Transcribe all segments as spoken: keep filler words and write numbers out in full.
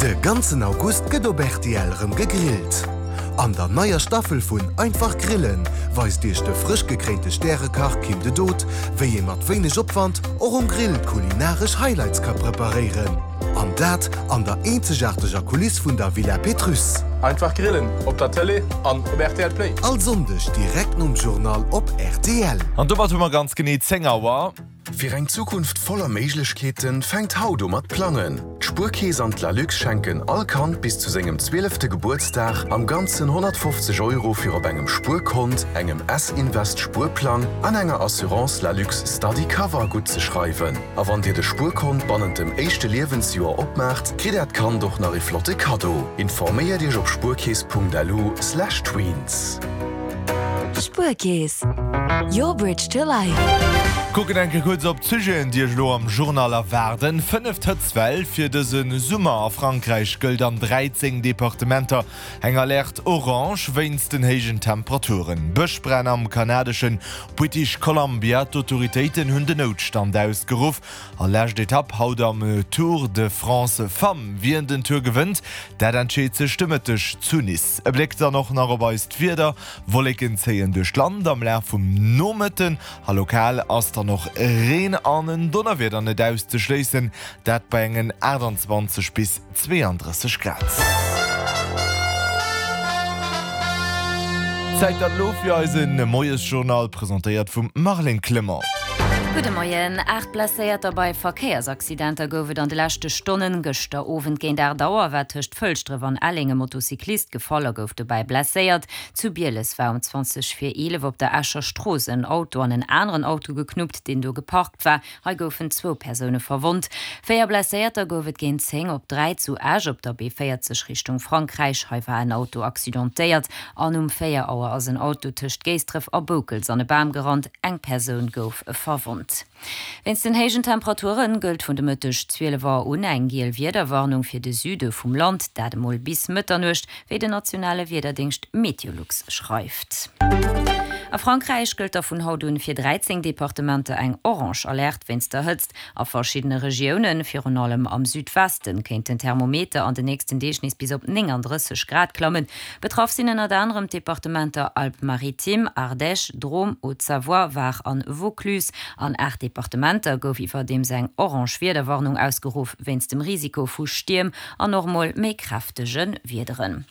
De ganzen August gëtt op R T L rëm gegrillt. An der neier Staffel vun Einfach Grillen weist iech de frësch gekréinte Stärekach Kim de Dood, wéi ee mat wéineg Opwand och um Grill kulinaresch Highlights ka preparéieren. An dat an der eenzegaarteger Kuliss vun der Villa Pétrusse. Einfach Grillen op der Tëlee an op R T L Play. All Sonndeg direkt nom Journal op R T L. An domat hu mer ganz genee zéng Auer. Fir eng Zukunft voller Méiglechkeeten fänkt haut u mat plangen. D'Spuerkeess an d'Lalux schenken all Kand bis zu sengem zwielefte Gebuertsdag am ganzen honnertfofzeg Euro fir op engem Spuerkont, engem S-Invest Spuerplang an enger Assurance Lalux Study Cover gutt ze schreiwen. A wann dir de Spuerkont bannent dem éischte Liewensjoer opmaacht, kritt äert Kand och nach e flotte Kaddo. Informéiert iech op spuerkeess Punkt L U slash tweens. Spuerkeess. Your bridge to life. Kucken eng Kéier kuerz op d'Sujeten, déi iech elo am Journal erwaarden. Fënneft Hëtztwell fir dëse Summer a Frankräich gëllt an dräizéng Departementer eng Alerte orange wéinst den héijen Temperaturen. Bëschbränn am kanadeschen British Columbia, d'Autoritéiten hunn den Noutstand ausgeruff. A lescht Etapp haut am Tour de France Femmes. Wien den Tour gewënnt, dat entscheet sech de Mëtteg zu Nice. E Bléck dann och nach op eist Wieder. Wolleken zéien duerch d'Land am Laf vum Nomëtten a lokal ass dann och Reen an en Donnerwieder net auszeschléissen, dat bei engen aachtanzwanzeg bis zweeandrësseg Grad. Zäit dann elo fir eise Moiesjournal, presentéiert vum Marlène Clement. Gudde Moien. Aacht Blesséierter bei Verkéiersaccidenter gouf et an de leschte Stonnen. Gëschter Owend géint aacht Auer war tëscht Fëlschdref an Elleng e Motocyclist gefall a gouf dobäi blesséiert. Zu Bieles war um zwanzeg vir eelef op der Escher Strooss en Auto an en aneren Auto geknuppt, deen do geparkt war. Hei goufen zwou Persoune verwonnt. Véier Blesséierter gouf et géint zéng op dräi zu Esch op der B véierzeg Richtung Frankräich. Hei war en Auto accidentéiert. An um véier Auer ass en Auto tëscht Géisdref a Boukels an e Bam gerannt. Eng Persoun gouf verwonnt. Wéinst den héijen Temperature gëllt vun de Mëtteg zwielef Auer un eng giel Wiederwarnung fir de Süde vum Land, dat emol bis Mëtternuecht, wéi den nationale Wiederdéngscht Meteolux schreift. A Frankräich gëllt da vun haut un fir dräizéng Departementer eng orange Alerte wéinst der Hëtzt. A verschiddene Regiounen, virun allem am Südwesten, kéint den Thermometer an den nächsten Deeg nees bis op nénganddrësseg Grad klammen. Betraff sinn ënnert anerem d'Departementer Alpes-Maritimes, Ardèche, Drôme, Haute-Savoie, Var an Vaucluse. An aacht Departementer gouf iwwerdeems eng orange Wiederwarnung ausgeruff wéinst dem Risiko vu Stierm an och mol méi kräftege Wiederen.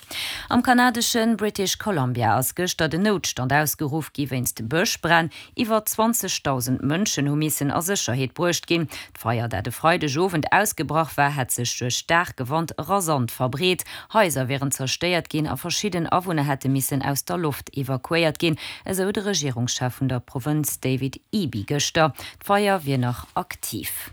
Am kanadeschen British Columbia ass gëschter den Noutstand ausgeruff gi wéinst Bëschbränn. Iwwer zwanzegdausend Mënschen hu missen a Sécherheet bruecht ginn. D'Feier, dat e Freidegowend ausgebrach war, hätt sech duerch staarke Wand rasant verbreet. Haiser wieren zerstéiert ginn a verschidden Awunner hätte missen aus der Loft evakuéiert ginn, esou de Regierungschef vun der Provënz David Eby gëschter. D'Feier wier nach aktiv.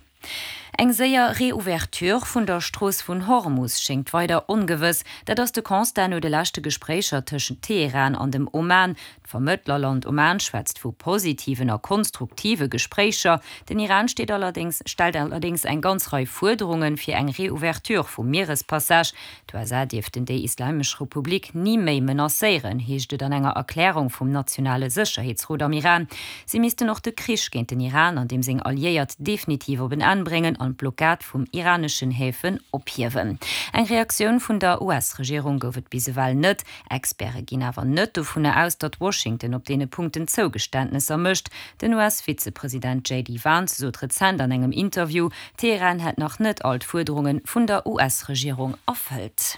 Eng séier Reouverture vun der Strooss vun Hormus schéngt weider ongewëss. Dat ass de Constat no de leschte Gespréicher tëschent Teheran an dem Oman. D'Vermëttlerland Oman schwätzt vu positiven a konstruktive Gespréicher. Den Iran steet allerdéngs stellt allerdéngs eng ganz Rei Fuerderunge fir eng Reouverture vum Mierespassage. D'U S A dierften déi Islamesch Republik ni méi menacéieren, heescht et an enger Erklärung vum nationale Sécherheetsrot am Iran. Si missten och de Krich géint den Iran an deem seng Alliéiert definitiv op en Enn bréngen an d'Blockad vun iraneschen Häfen ophiewen. Eng Reaktioun vun der U S-Regierung gouf et bis ewell net. Experte ginn awer net dovun aus, datt Washington op deene Punkten Zougeständnesser mécht. Den U S-Vizepresident J D Vance sot rezent an engem Interview, Teheran hätt nach net all d'Fuerderunge vun der U S-Regierung erfëllt.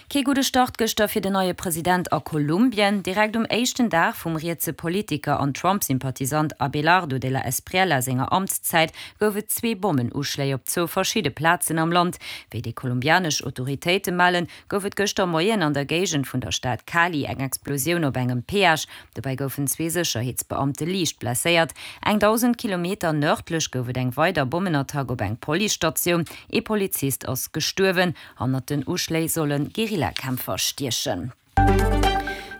Kee gudde Start gëschter fir den neie President a Kolumbien. Direkt um éischten Dag vum rietse Politiker an Trump-Sympathisant Abelardo de la Espriella senger Amtszäit gouf et zwee Bommenuschléi op zwou verschidde Plazen am Land. Wéi déi kolumbianesch Autoritéite mellen, gouf et gëschter Moien an der Géigend vun der Stad Cali eng Explosioun op engem Peage. Dobäi goufen zwee Sécherheetsbeamte liicht blesséiert. Eng dausend Kilometer nërdlech gouf et eng weider Bommenattack op eng Policestatioun. Ee Polizist ass gestuerwen. Hannert den Uschléi solle Guerillakämpfer stiechen.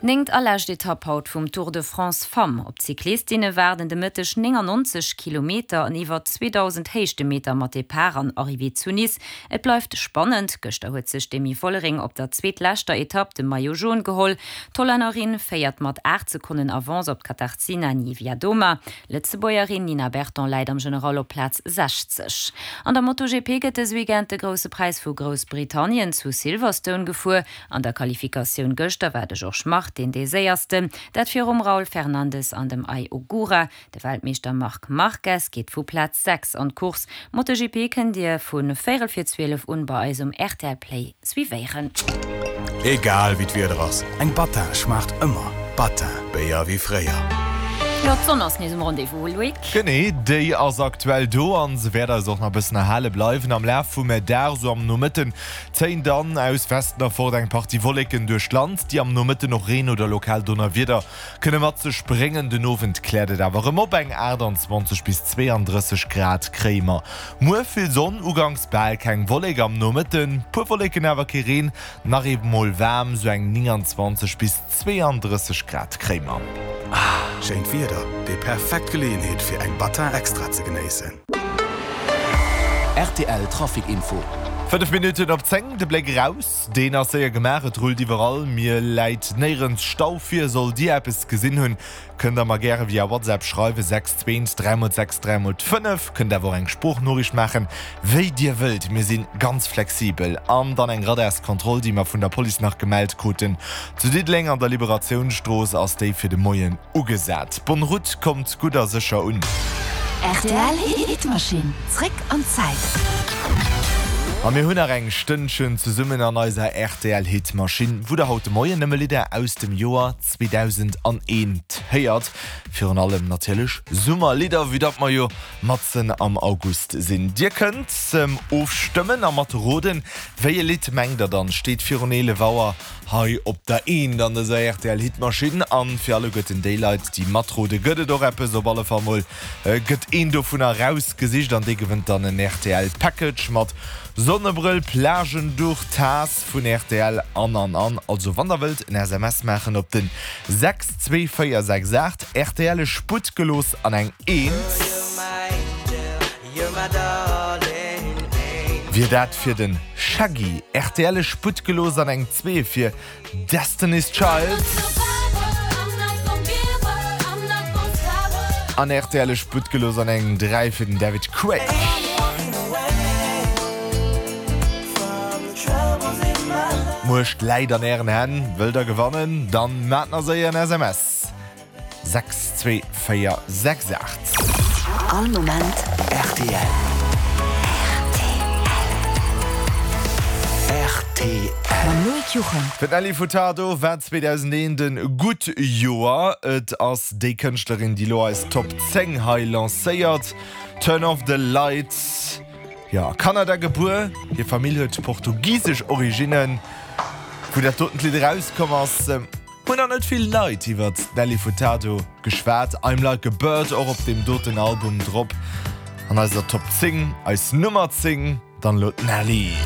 Néngt a lescht Etapp haut vum Tour de France Femmes. Op d'Cyclistinne waarden de Mëtteg néngannonzeg Kilometer an iwwer zweedausend Héichtemeter mat Depart an Arrivée zu Nice. Et bleift spannend, Gëschter huet sech d'Demi Vollering op der zweetleschter Etapp de Maillot Jaune geholl. D'Hollännerin féiert mat aacht Sekonnen Avance op d'Katarzyna Niewiadoma. D'Lëtzebuergerin Nina Berton läit am General op Plaz sechzeg. An der MotoGP gëtt dës Weekend de Grousse Präis vu Groussbritannien zu Silverstone gefuer. An der Qualifikatioun gëschter war de Georges Martin dee Séiersten, dat virum Raul Fernandez an dem Ai Ogura. De Weltmeeschter Marc Marquez geet vu Plaz sechs an d'Course. MotoGP kënnt Dir vu véierel vir zwielef un bei eis um rtl Play suivéieren. Egal wéi d'Wieder ass, eng Battin schmaacht ëmmer. Battin, Béier wéi fréier. Jo, d'Sonn ass nees um Rendez-vous, Loïc. Genee, déi ass aktuell do an se wäert eis och nach e bëssen erhale bleiwen. Am Laf vum Dag, sou am Nomëtten, zéien dann aus Westen erfort eng Partie Wolleken duerch d'Land, déi am Nomëtten och Reen oder lokal Donnerwieder kënne mat sech bréngen. Den Owend kläert et awer erëm op, eng achttanzwanzeg bis zweeandrësseg Grad kréie mer. Muer vill Sonn, uganks bal keng Wollek, am Nomëtten puer Wolleken, awer kee Reen. Nach eemol waarm, sou eng nénganzwanzeg bis zweeandrësseg Grad kréie mer. Schéint Wieder, déi perfekt Geleeënheet fir eng Battin Extra ze genéissen. Rtl Trafic Info. Fënnef Minutten op zéng, de Bléck eraus, deen ass séier gemaach, et rullt iwwerall, mir läit néierens Stau vir. Sollt Dir eppes gesinn hunn, kënnt der mer gäre via WhatsApp schreiwen, sechs zwee dräi mol sechs dräi mol fënnef. Kënnt awer och eng Sproochnoriicht maachen, wéi Dir wëllt, mir si ganz flexibel. An dann eng Radarskontroll, déi mer vun der Police nach gemellt kruten. Zu Diddeleng an der Liberatiounsstrooss ass déi fir de Moien ugesat. Bonne route, kommt gutt a sécher un. Rtl Hitmaschinn, zréck an d'Zäit. A mir hunn nach eng Stënnchen zesummen an eiser rtl Hitmaschinn, wou der haut de Moien nëmme Lidder aus dem Joer zweedausendant héiert. Virun allem natierlech Summerlidder, vue datt mer jo matzen am August sinn. Dir kënnt ofstëmmen a mat roden, wéi e Lidd mengt der dann steet virun eelef Auer hei op der Eent an dëser rtl Hitmaschinn. An fir alleguerten déi Leit, déi matrode gëtt et och eppes. Op alle Fall mol gëtt een dovunner erausgesicht an dee gewënnt dann en rtl Package mat Sonnebrëll, Plagenduch, Taass vun rtl an an an. Also wann der wëllt en S M S maachen op den sechs zwee véier sechs aacht, rtl Sputt gelooss an eng Eent. Wier dat fir den Shaggy, rtl Sputt gelooss an eng Zwee fir Destiny's Child. An rtl Sputt gelooss an eng Dräi fir den David Craig. D'Muecht läit an ären Hänn, wëllt der gewannen, dann maacht nach séier en S M S, sechs zwee véier sechs aacht. All Moment rtl. Rtl. Mam Loïc Juchem. Fir d'Nelly Furtado war zweedausendeent e gutt Joer. Et ass déi Kënschtlerin, déi lo eis Top zéng hei lancéiert. Turn Off The Lights. Jo, a Kanada gebuer, hir Famill huet portugisesch Originnen. Wou dat doten Lidd erauskomm ass, hunn nach net vill Leit iwwert d'Nelly Furtado geschwat. I'm Like a Bird och op deem doten Album drop. An eiser Top zéng, eis Nummer zéng, dann elo d'Nelly.